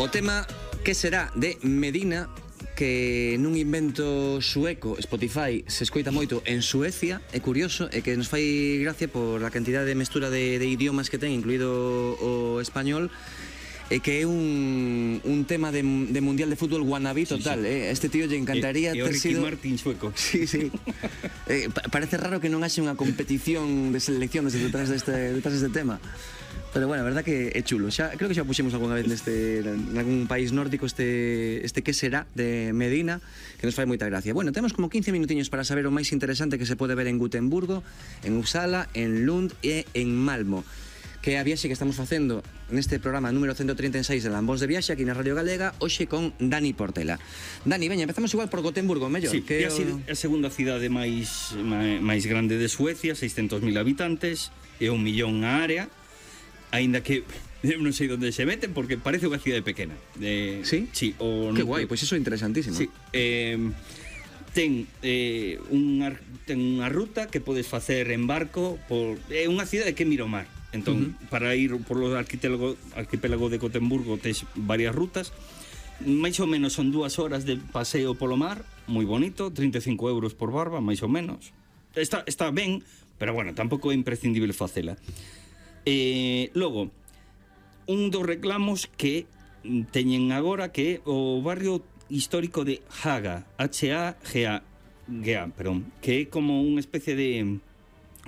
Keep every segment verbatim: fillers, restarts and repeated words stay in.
O tema que será de Medina, que nun invento sueco, Spotify, se escoita moito en Suecia, é curioso, e que nos fai gracia por a cantidad de mestura de, de idiomas que ten, incluído o español, e que é un, un tema de, de mundial de fútbol wannabe total, sí, sí. Eh? Este tío lle encantaría e, e ter sido... Martin sueco. Sí, sí. eh, parece raro que non haxe unha competición de selecciones detrás deste, detrás deste tema. Pero bueno, a verdad que é chulo. Xa, creo que xa puxemos algunha vez neste, en algún país nórdico este, este que será de Medina, que nos fai moita gracia. Bueno, temos como quince minutiños para saber o máis interesante que se pode ver en Gotemburgo, en Uppsala, en Lund e en Malmo, que é a viaxe que estamos facendo neste programa número ciento treinta e seis de Lambóns de Viaxe aquí na Radio Galega, hoxe con Dani Portela. Dani, veña, empezamos igual por Gotemburgo, mellor. Sí, que é o... a segunda cidade máis, máis grande de Suecia, seiscentos mil habitantes, e un millón a área, aínda que non sei onde se meten porque parece unha cidade pequena. Eh, sí? Sí. O, que guai, pois pues iso é interesantísimo. Sí. Eh, ten, eh, unha, ten unha ruta que podes facer en barco por, é unha cidade que mira o mar. Entón, uh -huh. para ir por o arquipélago, arquipélago de Gotemburgo tes varias rutas. Máis ou menos son dúas horas de paseo polo mar, moi bonito, trinta e cinco euros por barba, máis ou menos. Está, está ben, pero bueno, tampouco é imprescindible facela. Eh, logo, un dos reclamos que teñen agora que é o barrio histórico de Haga, H A G A, perdón, que é como unha especie de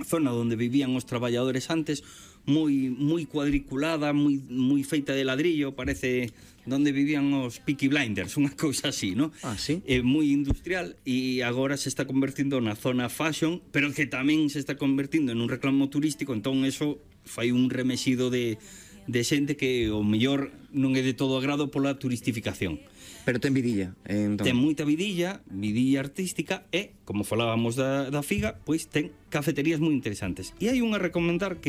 zona onde vivían os traballadores antes, moi moi cuadriculada, moi moi feita de ladrillo, parece onde vivían os Peaky Blinders, unha cousa así, ¿no? Ah, sí. É moi industrial e agora se está convertindo na zona fashion, pero que tamén se está convertindo en un reclamo turístico, entón eso fai un remexido de, de xente que o mellor non é de todo agrado pola turistificación. Pero ten vidilla, entón. Ten moita vidilla, vidilla artística e, como falábamos da, da figa, pois ten cafeterías moi interesantes. E hai unha a recomendar que